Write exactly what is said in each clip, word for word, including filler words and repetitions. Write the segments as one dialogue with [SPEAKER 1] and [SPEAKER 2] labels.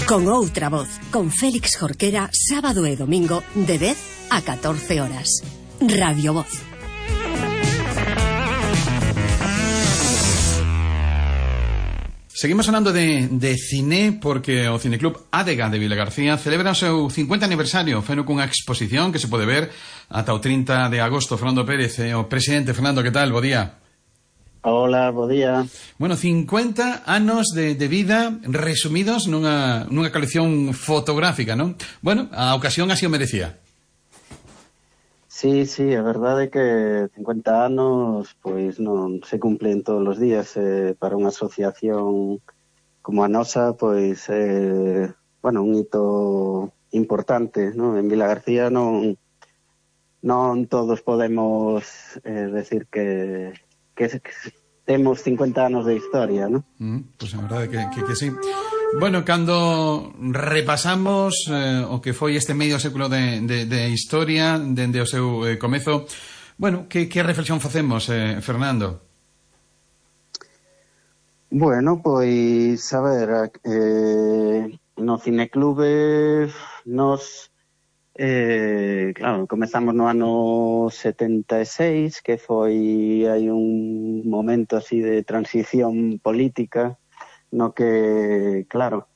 [SPEAKER 1] Con outra voz, con Félix Jorquera, sábado e domingo de dez a catorce horas. Radio Voz.
[SPEAKER 2] Seguimos falando de, de cine porque o Cineclub Adega de Vilagarcía celebra o seu cincuenta aniversario, feno cunha exposición que se pode ver ata o trinta de agosto. Fernando Pérez, eh, o presidente. Fernando, que tal? Bo día.
[SPEAKER 3] Hola, bo día.
[SPEAKER 2] Bueno, cincuenta anos de, de vida resumidos nunha, nunha colección fotográfica, non? Bueno, a ocasión así o merecía.
[SPEAKER 3] Sí, sí, a verdade é que cincuenta anos pois non se cumplen todos os días, eh, para unha asociación como a nosa, pois eh, bueno, un hito importante, non? En Vilagarcía non non todos podemos eh, decir que que, que temos cincuenta anos de historia, non?
[SPEAKER 2] Mm, pois pues a verdade que, que, que sí. Bueno, cando repasamos eh, o que foi este medio século de, de, de historia dende o seu eh, comezo, bueno, que, que reflexión facemos, eh, Fernando?
[SPEAKER 3] Bueno, pois, a ver, eh, no Cineclube nos, eh, claro, comezamos no ano setenta e seis, que foi hai un momento así de transición política, no que, claro,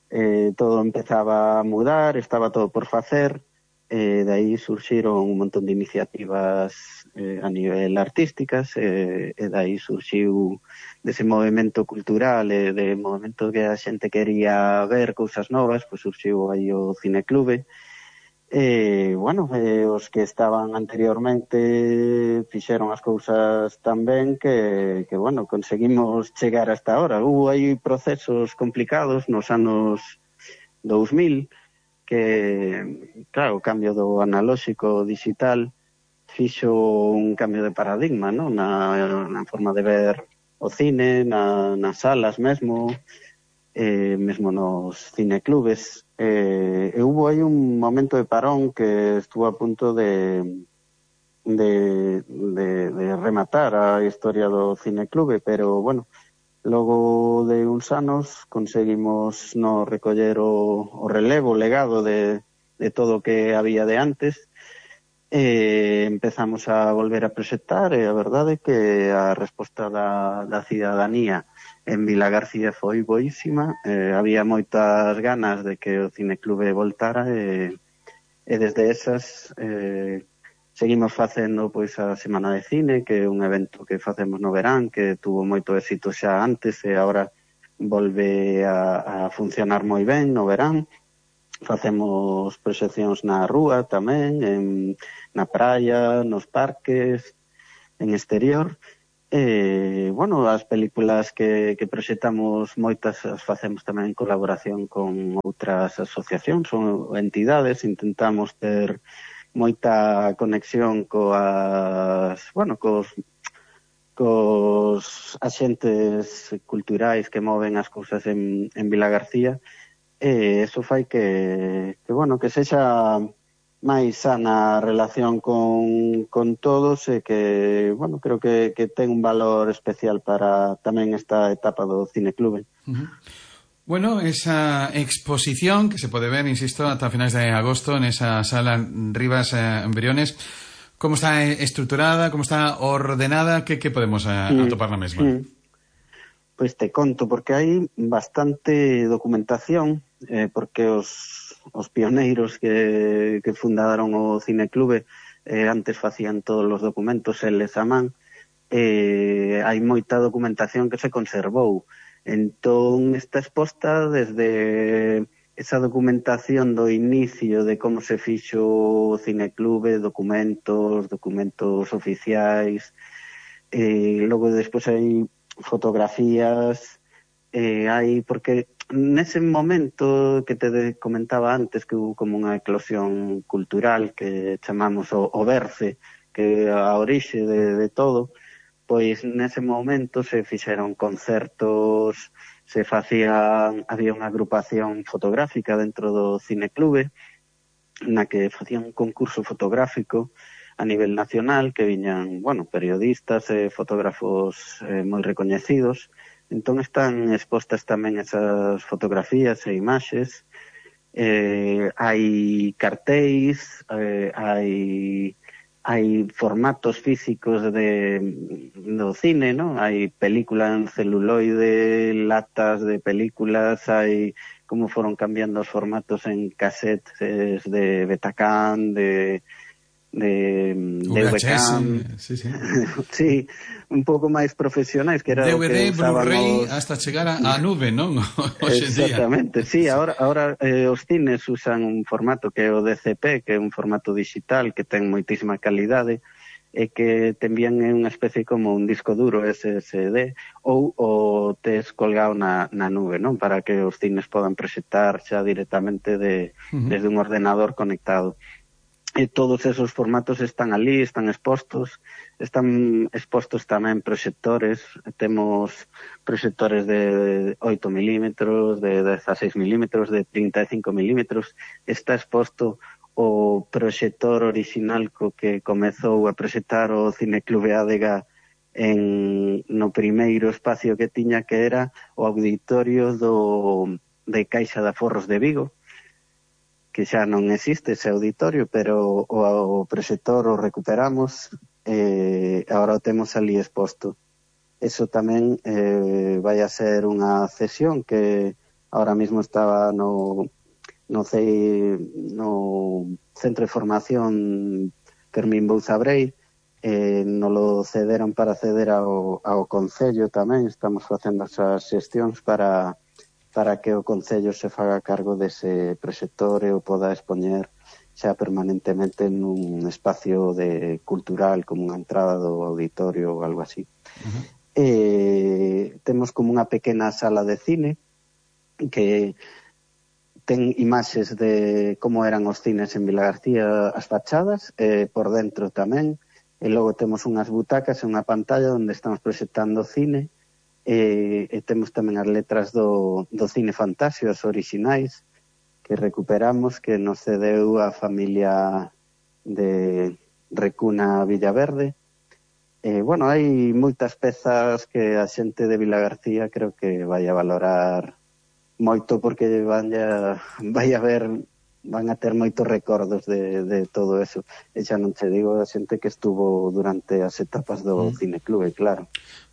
[SPEAKER 3] eh, todo empezaba a mudar, estaba todo por facer, e eh, de aí surxiron un montón de iniciativas eh, a nivel artísticas, eh, e de aí surxiu dese movimento cultural e de movimento que a xente quería ver cousas novas, pois surxiu aí o Cineclube. E, bueno, eh, os que estaban anteriormente fixeron as cousas tan ben que, que, bueno, conseguimos chegar hasta ahora. Hubo aí procesos complicados nos anos dous mil, que, claro, o cambio do analóxico digital fixo un cambio de paradigma, non? Na, na forma de ver o cine, na, nas salas mesmo, eh, mesmo nos cineclubes. Eh, e hubo aí un momento de parón que estuvo a punto de, de, de, de rematar a historia do cineclube, pero, bueno, logo de uns anos conseguimos no recoller o, o relevo, o legado de, de todo o que había de antes, e empezamos a volver a proxectar, e a verdade é que a resposta da, da cidadanía en Vilagarcía foi boísima. Eh, había moitas ganas de que o Cineclube voltara, e, e desde esas eh, seguimos facendo pois a Semana de Cine, que é un evento que facemos no verán, que tuvo moito éxito xa antes e agora volve a, a funcionar moi ben no verán. Facemos proxeccións na rúa tamén, en, na praia, nos parques, en exterior. E, bueno, as películas que, que proxectamos moitas as facemos tamén en colaboración con outras asociacións ou entidades. Intentamos ter moita conexión coas, bueno, cos, cos axentes culturais que moven as cousas en, en Vilagarcía, e eso fai que, que, bueno, que sexa máis sana relación con, con todos, e que, bueno, creo que, que ten un valor especial para tamén esta etapa do Cineclube.
[SPEAKER 2] Uh-huh. Bueno, esa exposición que se pode ver, insisto, ata finais de agosto nesa sala Rivas eh, en Briones, como está estruturada, como está ordenada, que, que podemos eh, mm. atopar na mesma? Mm.
[SPEAKER 3] Pois te conto, porque hai bastante documentación, eh, porque os, os pioneiros que, que fundaron o Cineclube eh, antes facían todos os documentos eles a man, eh, hai moita documentación que se conservou. Entón, está exposta desde esa documentación do inicio de como se fixo o Cineclube, documentos, documentos oficiais, e logo despois hai fotografías, eh, hai, porque nese momento que te comentaba antes, que hubo como unha eclosión cultural que chamamos o, o Berce, que é a orixe de, de todo, pois nese momento se fixeron concertos, se facía, había unha agrupación fotográfica dentro do Cineclube, na que facían un concurso fotográfico a nivel nacional, que viñan, bueno, periodistas e fotógrafos eh, moi recoñecidos Entón están expostas tamén esas fotografías e imaxes. Eh, hai cartéis, eh, hai hai formatos físicos de do cine, ¿no? Hai película en celuloide, latas de películas, hai como foron cambiando os formatos en casetes de Betacam, de de D V Cam,
[SPEAKER 2] sí, sí.
[SPEAKER 3] sí, un pouco máis profesionais, que era
[SPEAKER 2] D V D,
[SPEAKER 3] o que usábamos...
[SPEAKER 2] Blu-ray, hasta chegar á nube, non? Hoxe en día.
[SPEAKER 3] Exactamente, sí, ahora, ahora eh, os cines usan un formato que é o D C P, que é un formato digital que ten moitísima calidade e que te envían en unha especie como un disco duro S S D ou o tes colgado na, na nube, non? Para que os cines podan proxectar xa directamente de, uh-huh. desde un ordenador conectado. E todos esos formatos están ali, están expostos, están expostos tamén proxectores, temos proxectores de oito milímetros, de dezaseis milímetros, de trinta e cinco milímetros, está exposto o proxector orixinal co que comezou a proxectar o Cineclube Adega en, no primeiro espacio que tiña, que era o auditorio do, de Caixa de Aforros de Vigo, que xa non existe ese auditorio, pero o, o proxector o recuperamos e eh, agora o temos ali exposto. Eso tamén eh, vai a ser unha cesión que ahora mismo estaba no, no, C, no Centro de Formación Fermín Bouzabrei, eh, nos lo cederon para ceder ao, ao Concello tamén, estamos facendo esas xestións para... para que o Concello se faga cargo dese proxector e o poda expoñer xa permanentemente nun espacio de cultural, como unha entrada do auditorio ou algo así. Uh-huh. Eh, temos como unha pequena sala de cine que ten imaxes de como eran os cines en Vilagarcía, as fachadas, eh, por dentro tamén, e logo temos unhas butacas e unha pantalla onde estamos proxectando cine. E, e temos tamén as letras do, do Cine Fantasio, as orixinais, que recuperamos, que nos cedeu a familia de Recuna Villaverde. E, bueno, hai moitas pezas que a xente de Vilagarcía creo que vai a valorar moito, porque van a, vai a ver, van a ter moitos recordos de, de todo eso. E xa non te digo a xente que estuvo durante as etapas do mm. Cineclube, claro.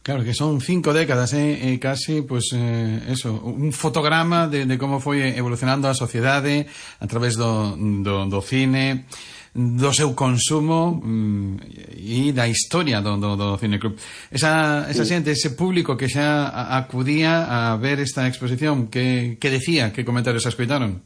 [SPEAKER 2] Claro, que son cinco décadas, eh, eh, casi, pues, eh, eso, un fotograma de, de como foi evolucionando a sociedade a través do, do, do cine, do seu consumo mm, e da historia do, do, do Cineclub. Esa, esa xente, ese público que xa acudía a ver esta exposición, que, que decía, que comentarios escoitaron?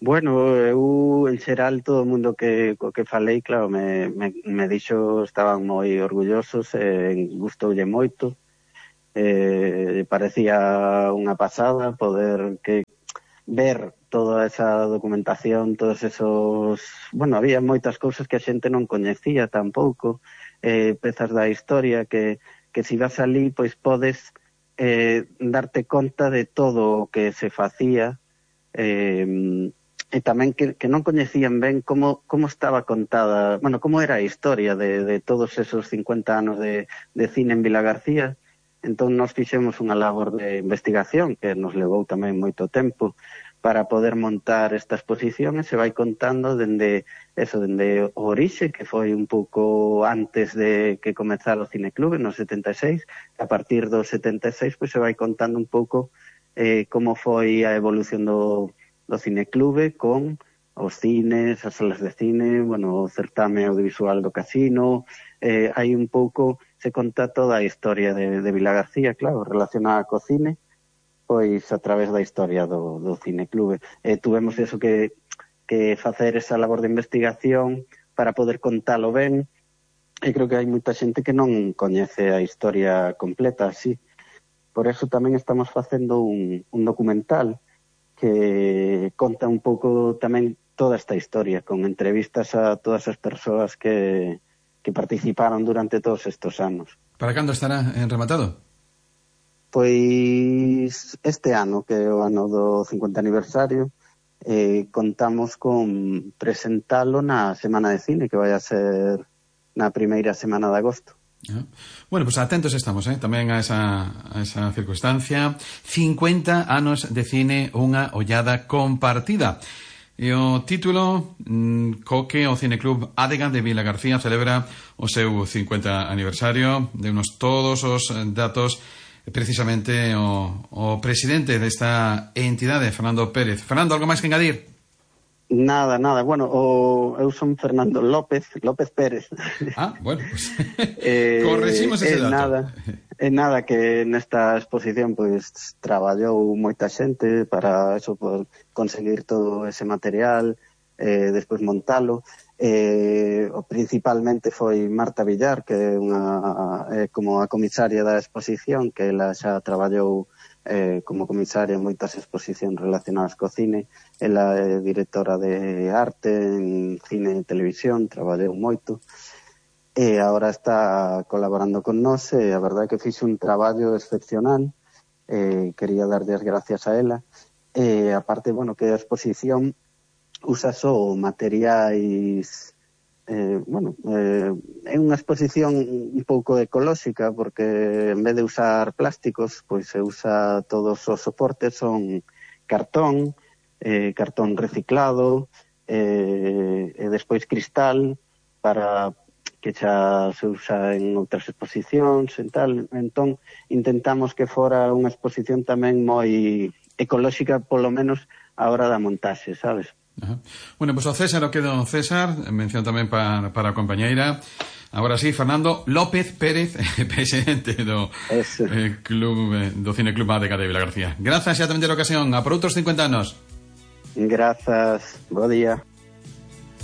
[SPEAKER 3] Bueno, eu, en xeral, todo o mundo que, co que falei, claro, me, me, me dixo, estaban moi orgullosos, eh, gustoulle moito, eh, parecía unha pasada poder que ver toda esa documentación, todos esos... Bueno, había moitas cousas que a xente non coñecía tampouco, eh, pezas da historia que, que si vas ali, pois podes eh, darte conta de todo o que se facía, eh, e tamén que, que non coñecían ben como, como estaba contada, bueno, como era a historia de, de todos esos cincuenta anos de, de cine en Vilagarcía. Entón nos fixemos unha labor de investigación que nos levou tamén moito tempo para poder montar esta exposición, e se vai contando dende eso, dende o orixe, que foi un pouco antes de que comezara o Cineclube, no setenta e seis, a partir do setenta e seis, pois se vai contando un pouco eh, como foi a evolución do do Cineclube con os cines, as salas de cine, bueno, o certame audiovisual do Casino, eh, hai un pouco, se conta toda a historia de, de Vilagarcía, claro, relacionada co cine, pois a través da historia do, do Cineclube. Eh, tuvemos eso que, que facer esa labor de investigación para poder contalo ben, e creo que hai moita xente que non coñece a historia completa así. Por eso tamén estamos facendo un, un documental que conta un pouco tamén toda esta historia, con entrevistas a todas as persoas que, que participaron durante todos estos anos.
[SPEAKER 2] Para cando estará en rematado?
[SPEAKER 3] Pois este ano, que é o ano do cincuenta aniversario, eh, contamos con presentalo na Semana de Cine, que vai a ser na primeira semana de agosto.
[SPEAKER 2] Bueno, pues atentos estamos, eh, tamén a esa, a esa circunstancia. cincuenta anos de cine, unha ollada compartida. E o título mmm, co que o Cineclub Adega de Vilagarcía celebra o seu cincuenta aniversario. Deunos todos os datos precisamente o, o presidente desta entidade, Fernando Pérez. Fernando, algo máis que engadir?
[SPEAKER 3] Nada, nada. Bueno, o, eu son Fernando López, López Pérez.
[SPEAKER 2] Ah, bueno, pues
[SPEAKER 3] eh,
[SPEAKER 2] correximos ese dato.
[SPEAKER 3] Nada, é nada que nesta exposición pois pues, traballou moita xente para eso, por conseguir todo ese material, eh, despois montalo. Eh, principalmente foi Marta Villar, que é unha eh, como a comisaria da exposición, que ela xa traballou eh, como comisaria en moitas exposicións relacionadas co cine. Ela é directora de arte en cine e televisión, traballou moito e agora está colaborando con nós e a verdade é que fixe un traballo excepcional. Eh, quería darlle as gracias a ela e aparte, bueno, que a exposición usa só materiais eh, bueno, eh, é unha exposición un pouco ecolóxica porque en vez de usar plásticos, pois se usa todos os soportes son cartón, eh, cartón reciclado eh, e despois cristal para que xa se usa en outras exposicións e tal. Entón intentamos que fora unha exposición tamén moi ecolóxica, polo menos a hora da montaxe, sabes?
[SPEAKER 2] Ajá. Bueno, pues o César o quedo César, mención tamén para, para a compañeira. Agora sí, Fernando López Pérez, presidente do eh, club eh, do Cineclub Adega de Vilagarcía. Grazas xa tamén de ocasión, a por outros cincuenta anos.
[SPEAKER 3] Grazas, bo día.